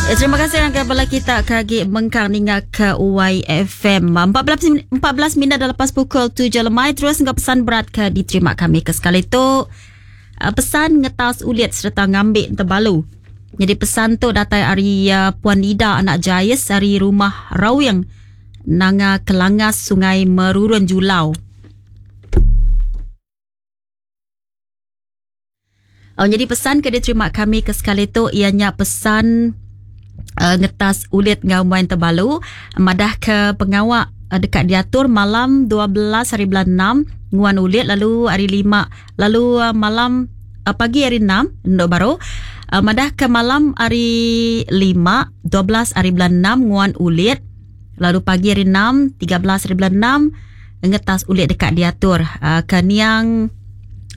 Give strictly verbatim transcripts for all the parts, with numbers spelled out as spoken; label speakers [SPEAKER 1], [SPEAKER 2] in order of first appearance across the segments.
[SPEAKER 1] Eh, terima kasih ngagai bala kita ke agi mengkang ninga ke Y F M. empat belas minit dah lepas pukul tujuh lemai. Terus enggau pesan berat ke diterima kami ke sekali tu. Pesan ngetas ulit serta ngambil tebalu. Jadi pesan tu datai ari uh, Puan Ida anak Jais ari rumah Rawing Nanga Kelangas Sungai Merurun Julau. Oh, jadi pesan ke diterima kami ke sekali tu ianya pesan Uh, ngetas ulit ngau main tebalu madah ke pengawak uh, dekat diatur malam dua belas hari bulan enam nguan ulit lalu hari lima lalu uh, malam uh, pagi hari enam ndok baru uh, madah ke malam hari lima dua belas hari bulan enam nguan ulit lalu pagi hari enam tiga belas hari bulan enam ngetas ulit dekat diatur uh, ke niang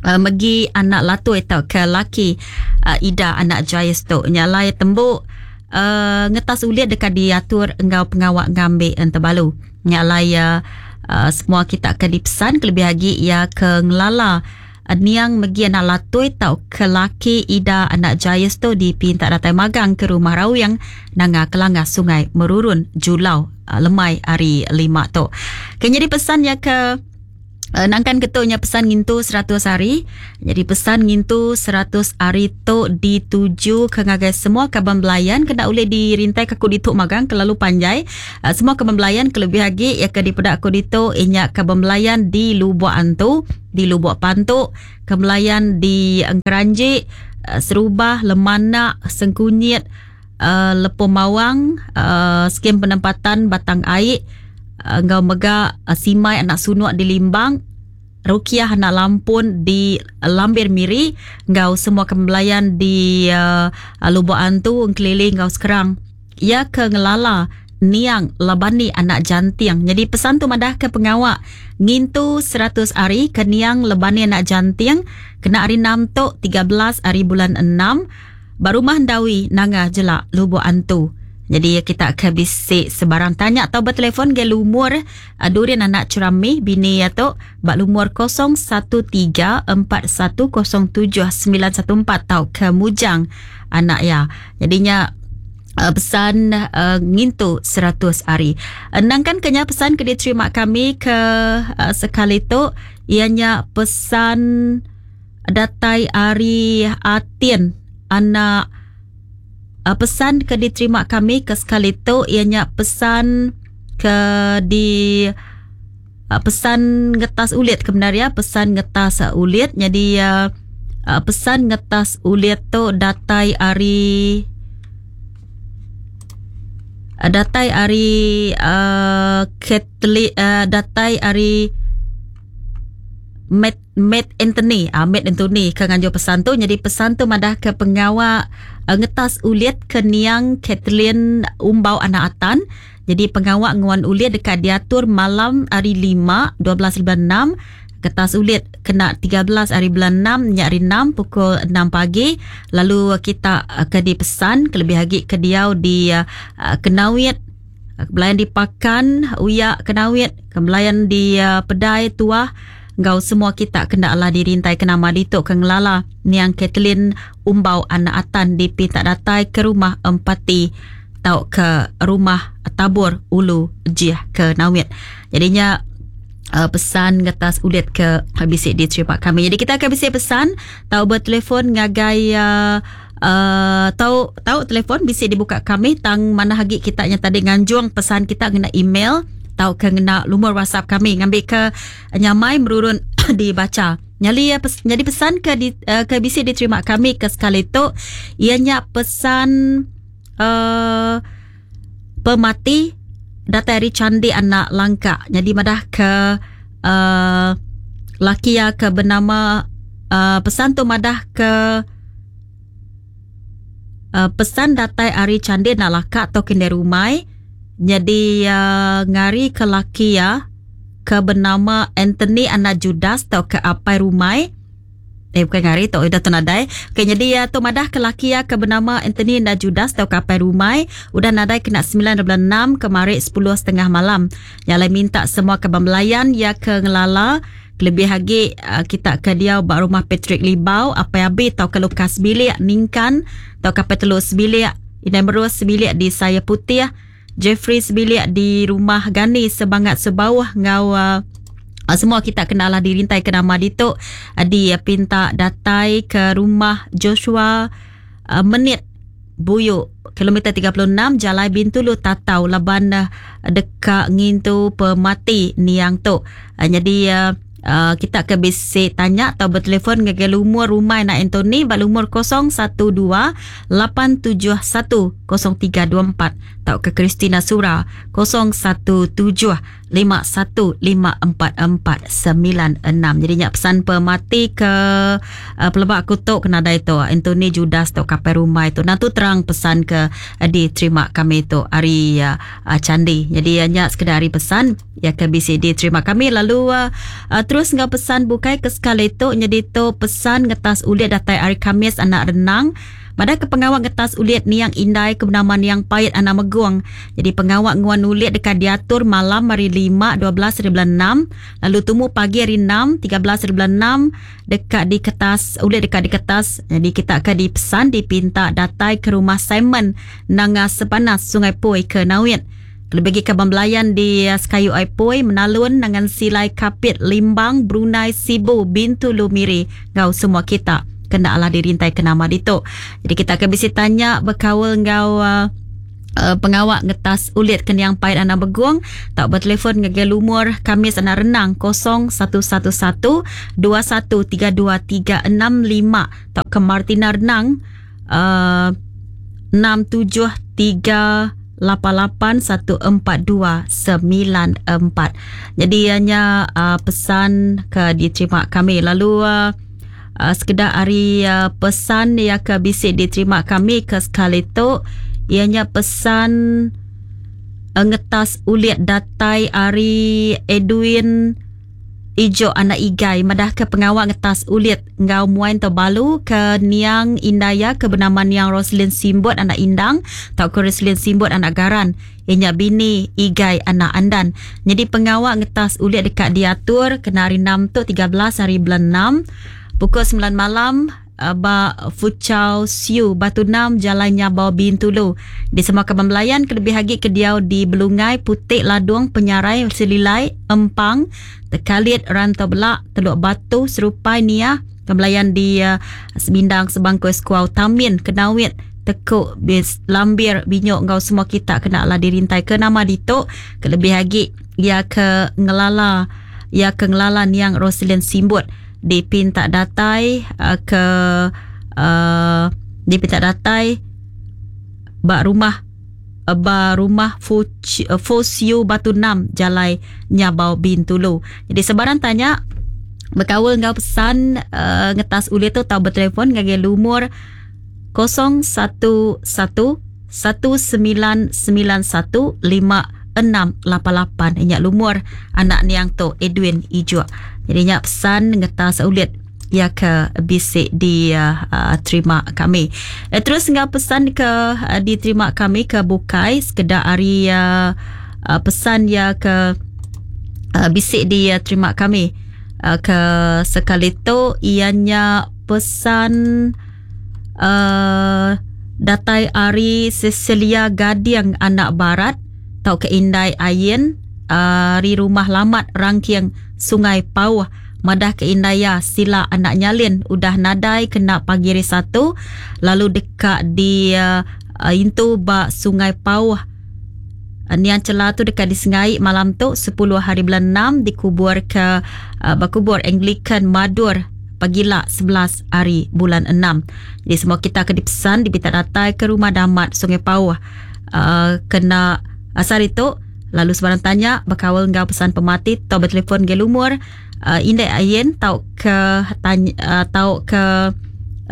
[SPEAKER 1] Uh, megi anak latui atau ke laki uh, Ida anak Jais tu nyalai tembuk Uh, ngetas ulit dekat diatur enggau pengawak ngambil entebalu. Nyalai uh, uh, semua kita ke dipesan kelebih lagi ia ke ngelala uh, niang megi anak latui tau ke laki Ida anak Jais tu dipinta datai magang ke rumah Rawing Nanga Kelanga Sungai Merurun Julau uh, lemai hari lima tu. Kena dipesan ya ke Uh, nangkan ketunya pesan ngintu seratus hari. Jadi pesan ngintu seratus hari tu dituju ke ngagai semua kaban belayan kena boleh dirintai ke aku dituk magang kelalu panjai. Uh, semua kaban belayan kelebih lagi ya ke dipedak aku dituk inyak kaban belayan di Lubuk Antu, di Lubuk Pantuk, kebelayan di Engkeranjik, uh, Serubah, Lemanak, Sengkunyit, uh, Lepung Mawang, uh, skim penempatan Batang Aik, enggau mega Simai anak Sunuk di Limbang, Rukiah anak Lampun di Lambir Miri, enggau semua kembelayan di uh, Lubuk Antu, Engkeliling enggau Sekerang. Ia ke ngelala niang Labani anak Jantiang. Jadi pesan tu madah ke pengawak ngintu seratus hari ke niang Lebani anak Jantiang kena hari enam tu tiga belas hari bulan enam barumah Ndawi Nanga Jelak Lubuk Antu. Jadi kita akan bisik sebarang tanya atau bertelefon ke lumur uh, Durian anak Cerami bini ya tu bak lumur kosong satu tiga empat satu kosong tujuh sembilan satu empat tau ke Mujang anak ya. Jadinya uh, pesan uh, ngintu seratus hari. Nangkan kenya pesan ke diterima kami ke uh, sekali tu ianya pesan datai ari Atin anak. Uh, pesan ke diterima kami ke sekali tu ianya pesan ke di uh, pesan ngetas ulit kebenar ya, pesan ngetas uh, ulit. Jadi uh, uh, pesan ngetas ulit tu datai ari uh, datai ari uh, Ketli, uh, datai ari Matt, Matt Anthony, ah Matt Anthony ke nganjo pesan tu. Jadi pesan tu madah ke pengawak uh, ngetas ulit ke niang Kathleen Umbau anak Atan. Jadi pengawak nguan ulit dekat diatur malam hari lima dua belas bulan enam. Kertas ulit kena tiga belas hari bulan enam, nyak hari enam pukul enam pagi. Lalu kita uh, ke dipesan kelebih lagi ke diau di uh, Kenawit, kebelayan di Pakan, Uyak Kenawit, kebelayan di uh, Pedai Tuah. Gau semua kita kena Allah dirintai ke nama dituk ke ngelala niang Kathleen Umbau anak Atan dipinta datai ke rumah Empati tau ke rumah Tabur Ulu Jih ke Nawit. Jadinya uh, pesan ngetas ulit ke bisik diterima kami. Jadi kita akan bisik pesan tau bertelefon ngagai uh, Uh, tau tau telefon bisik dibuka kami tang mana hagi kita nya tadi nganjung pesan kita ngena email tau ke ngena lumur WhatsApp kami ngambil ke nyamai merurun dibaca. Nyali ya pes, jadi pesan ke di, uh, ke bisik diterima kami ke sekali tu ianya pesan uh, pemati datai ari Candi anak Langka. Jadi madah ke uh, laki ya ke bernama uh, pesan tu madah ke Uh, pesan datai ari Candi anak Laka atau kini rumai. Jadi uh, ngari ke laki ya ke bernama Anthony anak Judas atau ke apai rumai. Eh bukan ngari tu udah tenadai. Okey jadi ya tu madah ke laki ya ke bernama Anthony anak Judas atau ke apai rumai udah nadai kena sembilan bulan enam kemarin sepuluh setengah malam. Yang lain minta semua ke belayan ya ke ngelala Lebih lagi uh, kita ke dia bak rumah Patrick Libau, apa abi tau ke Lukas bilik ningkan tau ke Petelus bilik Indai Merus sebilik di Saya Putih, Jeffrey sebilik di Rumah Gani Sebangat Sebauh ngau uh, semua kita kenalah dirintai ke nama ditu uh, di uh, pinta datai ke rumah Joshua uh, Menit Buyu kilometer tiga puluh enam Jalai Bintulu Tatau laban uh, deka ngintu pemati niang tu. Uh, jadi uh, Uh, kita ke bisi tanya atau bertelefon ngagai lumur rumah nak Anthony ba lumur kosong satu dua lapan tujuh satu kosong tiga dua empat atau ke Christina Sura kosong satu tujuh lima satu lima empat empat sembilan enam. Jadi nyak pesan pemati ke uh, pelebak aku tu kena dai tu Anthony Judas tu kapai rumah itu. Nah tu terang pesan ke uh, diterima kami tu hari uh, uh, Candi. Jadi uh, nyak sekedar hari pesan ya ke B C D terima kami lalu uh, uh, terus ngau pesan bukai ke sekali tu jadi tu pesan ngetas ulit datai hari Kamis anak renang. Pada ke pengawak ngetas ulit niang indai ke bernama niang payat anak meguang. Jadi pengawak nguan ulit dekat diatur malam hari lima dua belas hari bulan enam, lalu tumu pagi hari enam tiga belas hari bulan enam dekat di kertas ulit dekat di kertas. Jadi kita akan dipesan dipinta datai ke rumah Simon Nanga Sepanas Sungai Poi ke Nawit. Lebih ke Bambelayan di Sekayu Aipoi, Menalun, Nangan Silai, Kapit, Limbang, Brunei, Sibu, Bintulu, Miri. Ngau semua kita kena lah dirintai ke nama ditu. Jadi kita akan bisi tanya berkawal ngau uh, uh, pengawak ngetas ulit keniang pahit anak beguang. Tak bertelefon ngagai lumur Kamis anak renang kosong satu satu satu dua satu tiga dua tiga enam lima tak ke Martina Renang uh, enam tujuh tiga lapan lapan satu empat dua sembilan empat. Jadi hanya uh, pesan ke diterima kami. Lalu uh, uh, sekedar hari uh, pesan yang ke bisik diterima kami ke sekali tu ianya pesan uh, ngetas ulit datai hari Edwin Ijo anak Igai madah ke pengawak ngetas ulit ngau muain terbalu ke Niang Indaya ke bernama Niang Roslin Simbut anak Indang atau ke Roslin Simbut anak Garan ianya bini Igai anak Andan. Jadi pengawak ngetas ulit dekat diatur kena hari enam tu tiga belas hari bulan enam pukul sembilan malam ba Fuchao Siu Batu Enam Jalan Nyabau Bintulu. Di semua kaban belayan kelebih lagi ke diau di Belungai, Putik, Ladung, Penyarai, Selilai, Empang, Tekalit, Rantau Belak, Teluk Batu, Serupai, Niah, kebelayan di uh, Sebindang, Sebangkoi, Sekuau, Tamin, Kenawit, Tekuk, Bis, Lambir, Binyok, ngau semua kita kena lah dirintai ke nama dituk. Kelebih lagi ia ke ngelala, ia ke ngelala Niang Roslin Simbut dipinta datai uh, ke uh, dipinta datai ba rumah uh, ba rumah Fosio Batu Enam Jalai Nyabau Bintulu. Jadi sebarang tanya berkawal ngau pesan uh, ngetas ulit tu tau bertelefon ngagai lumur kosong satu satu satu sembilan sembilan satu lima enam lapan lapan. Ingat lumur anak niang tu Edwin Ijo. Jadi nyak pesan ngetas ulit ya ke bisik di uh, uh, terima kami. Eh, terus ngau pesan ke uh, diterima kami ke bukai sekedar hari uh, uh, pesan ya ke uh, bisik di uh, terima kami uh, ke sekali tu ianya pesan uh, datai ari Cecilia Gadiang anak Barat tau ke Indai Ayen ari uh, rumah Lamat Rangkiang Sungai Pauh madah ke Indaya sila anak nyalin udah nadai kena pagi hari satu lalu dekat di uh, intu ba Sungai Pauh. Uh, nian celah tu dekat di Sengai malam tu sepuluh hari bulan enam dikubur ke uh, bakubur Anglican Madur pagila sebelas hari bulan enam. Jadi semua kita akan dipesan dipinta datai ke rumah Damat Sungai Pauh uh, kena asar itu. Lalu sebarang tanya berkawal ngau pesan pemati atau bertelefon ke lumur uh, Indai Ayen tau ke tanya, uh, tau ke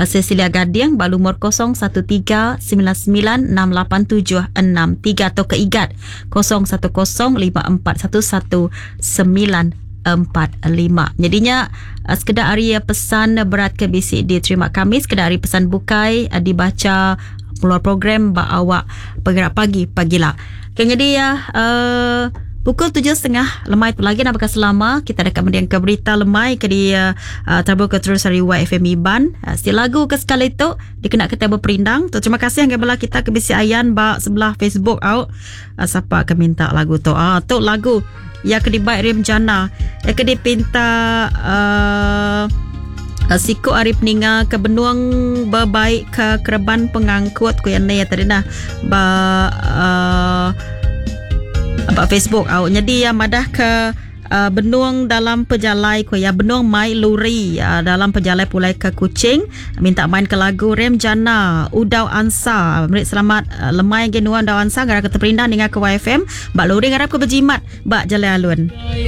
[SPEAKER 1] uh, Cecilia Gading ba lumur kosong satu tiga sembilan sembilan enam lapan tujuh enam tiga atau ke Igat kosong satu kosong lima empat satu satu sembilan empat lima. Jadinya uh, sekedar hari pesan berat ke bisik diterima kami, sekedar hari pesan bukai uh, dibaca melalui program ba awak bergerak pagi pagilah. Okay, jadi ya uh, Pukul tujuh setengah lemai tu lagi nambah selama kita deka mending ke berita lemai ke di uh, tabu ke terus hari Y F M Iban. Uh, si lagu ke sekali tu dikena kita berperindang. Tu terima kasih yang bala kita ke bisi ayan ba sebelah Facebook au. Uh, siapa ke minta lagu tu? Ah tu lagu ya ke dibaik Rim Jana. Ya ke dipinta uh, Siku ari peninga ke benuang berbaik ke kereban pengangkut ku yang ni tadi nah ba uh, ba Facebook au. Jadi ya madah ke uh, benuang dalam pejalai ku ya benuang mai luri uh, dalam pejalai pulai ke Kuching minta main ke lagu Rem Jana Udau Ansa. Merik selamat uh, lemai ge nuan Udau Ansa gara ke terperindang dengan ke Y F M ba luri ngarap ke berjimat ba jalan alun.